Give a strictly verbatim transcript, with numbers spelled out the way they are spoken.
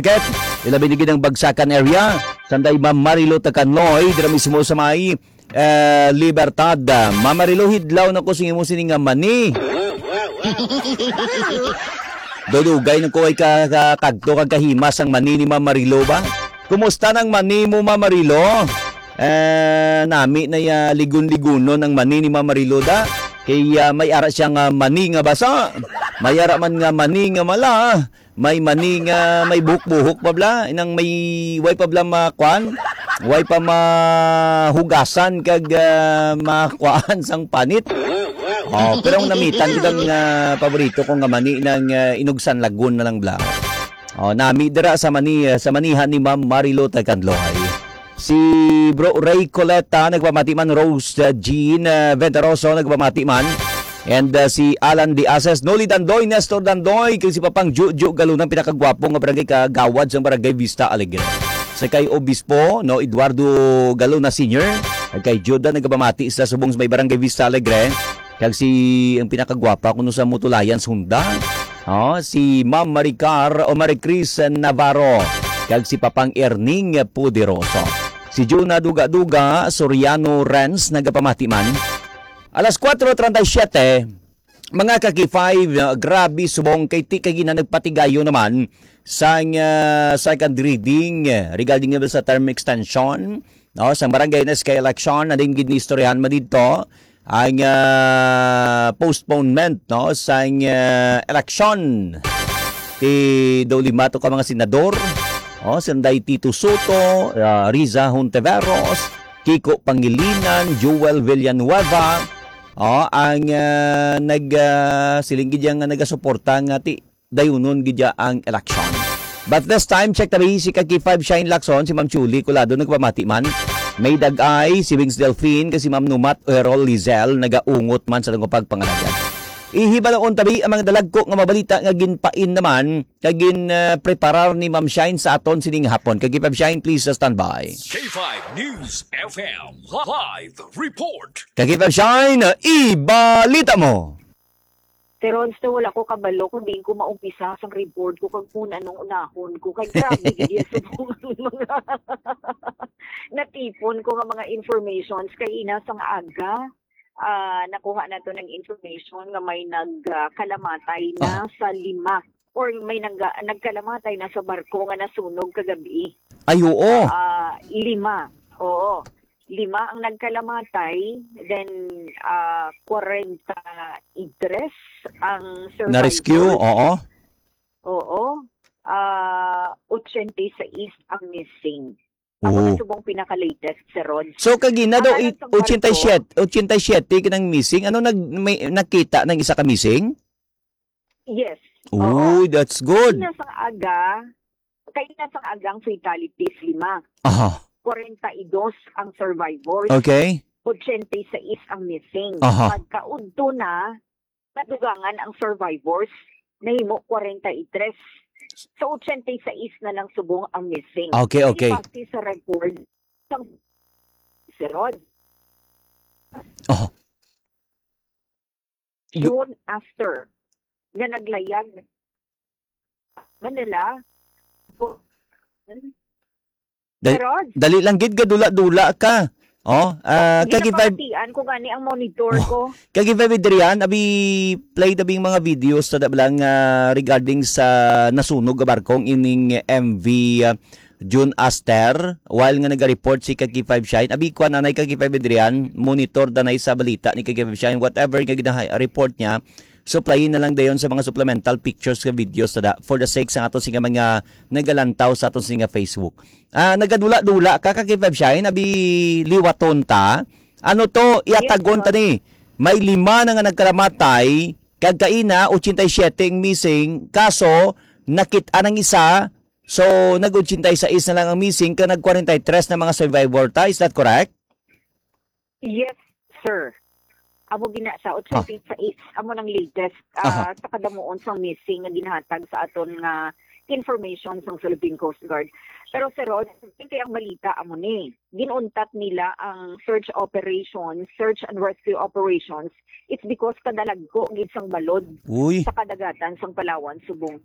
Market, ilabi na gid ang Bagsakan area. Sanday Ma'am Marilo Takanloy, dira mismo sa may, eh, Libertad. Ma'am Marilo, hidlaw na ko sa imo sini nga mani. Dudugay na ko ay ka, ka, kagto kag kahimas ang mani ni Ma'am Marilo ba? Kumusta nang mani mo, Ma'am Marilo? Eh, nami na ya ligon-ligonon ang mani ni Ma'am Marilo da. Kay, ah, may ara siya nga mani nga basa. May ara man nga mani nga mala. May mani nga may buhok-buhok pa bla, inang may way pa bla makuan, way pa mahugasan kag, ah, makuan sang panit. Oh, pero ang namitan gid ang, ah, paborito ko nga mani nang, ah, inugsan lagun na lang bla. Oh, nami dira sa mani, ah, sa manihan ni Ma'am Marilo Taganloy. Si Bro Ray Coleta, nagpamati man. Rose, uh, Jean, uh, Ventaroso, nagpamati man. And, uh, si Alan Diases, Noli Dandoy, Nestor Dandoy, kag si Papang Jojo Galunang, pinakagwapo nga barangay kagawad sang Barangay Vista Alegre. Sa kay Obispo, no, Eduardo Galuna Senior, kag kay Juda, nagpamati sa subong sa may Barangay Vista Alegre. Kag si, ang pinakagwapa kuno sa Mutulayan Sunda, oh, si Ma'am Maricar o Maricris Navarro, kag si Papang Erning Poderoso. Si Juna Duga-Duga Soriano Renz nagapamati man. Alas kuwatro treinta y siete, mga ka-K five, uh, grabe subong kay ti kay gina nagpatigayo naman sang, uh, second reading, uh, regarding naman sa term extension, no, sang barangay na S K election, na din gid ni istoryahan mo dito ang, ah, postponement, no, sang, ah, eleksyon ti daw lima to ka mga senador, oh, sanday Tito Soto, ah, Riza Hontiveros, Kiko Pangilinan, Joel Villanueva, oh, ang, ah, nag, ah, siling gid nga nagasuporta nga ti dayunon gid ya ang eleksyon. But this time, check tabi si ka K five Shine Lacson, si Ma'am Julie Colado nagpamati man. May Dagay, si Wings Delfin, kag si Ma'am Numat Errol Lizelle nagaungot man sa tungod pagpangalaga. Ihibalaon tabi ang mga dalagko nga mabalita nga ginpain naman kag gin, ah, preparar ni Ma'am Shine sa aton sining hapon. Ka K five Shine, please, uh, stand by. K five News F M live report. Ka K five Shine, ibalita mo. Sir Rons, daw wala ko kabalo kung diin ko maumpisa sang report ko kag kung anong unahon ko. Kay grabe gid iya subong ang mga natipon ko nga mga informations. Kay ina sang aga, ah, nakuha nato ng information nga may nag, ah, kalamatay na Ah. sa lima or may nag-, nagkalamatay na sa barko nga nasunog kagabi. Ay, oo. Ah, lima. Oo. Lima ang nagkalamatay, then, ah, kwarenta y tres ang Na-rescue, survivors. Oo. Oo. Ah, ochenta y seis ang missing. Ako Oo. na subong pinaka-latest, Sir Rod. So, kagina daw, Ang alang it-, sang ochenta y siete, barko, ochenta y siete kanang missing. Ano, nag-, may nakita ng isa ka missing? Yes. Oo. Uy, that's good. Kay ina sang aga, kay ina sang aga ang fatalities, lima. Aha. Kwarenta y dos ang survivors. Okay. Ochenta y seis ang missing. Aha. Pagkaudto na, nadugangan ang survivors, nahimo kwarenta y tres. So, ochenta y seis na lang subong ang missing. Okay, okay. Base sa record, sang, Sir Rod. Oh. Yu- Soon after, nga naglayag Manila. Dal-, Sir Rod? Dali lang gid, gadula-dula ka. Oh, ah, Hindi kag na if I pamatian ko gani ang monitor Oh, ko. Kag if I Adrian, abi, play tabi ang mga videos sa da-, lang, ah, regarding sa nasunog nga barkong ining M V, ah, June Aster, while nga naga-report si Kaki Five Shine. Abi, kuan, anay, Kaki Five Adrian, monitor danay sa balita ni Kaki Five Shine, whatever nga ginaha-, report niya, supply na lang dayon sa mga supplemental pictures nga videos sa da-, for the sake sa ato sing mga nagalantaw sa ato sing Facebook. Ah, nagadula-dula ka, Kaki Five Shine, abi, liwaton ta. Ano to, Yes, iyatagon ta sir. ni. May lima na nga nagkalamatay, kag kaina, ochenta y siete ang missing, kaso, nakit-an ang isa, so, nag-ochenta y seis na lang ang missing, kag nag-kwarenta y tres na mga survivor ta. Is that correct? Yes, sir. Amo gina sa Ah. ochenta y seis, amo nang latest, ah, Aha. sa kadamuon sang missing nga ginahatag sa aton nga information sang Philippine Coast Guard. Pero, Sir Rod, kay ang balita amo ni, ginuntat nila ang search operation, search and rescue operations. It's because kadalagko gid sang balod Uy. sa kadagatan sang Palawan subong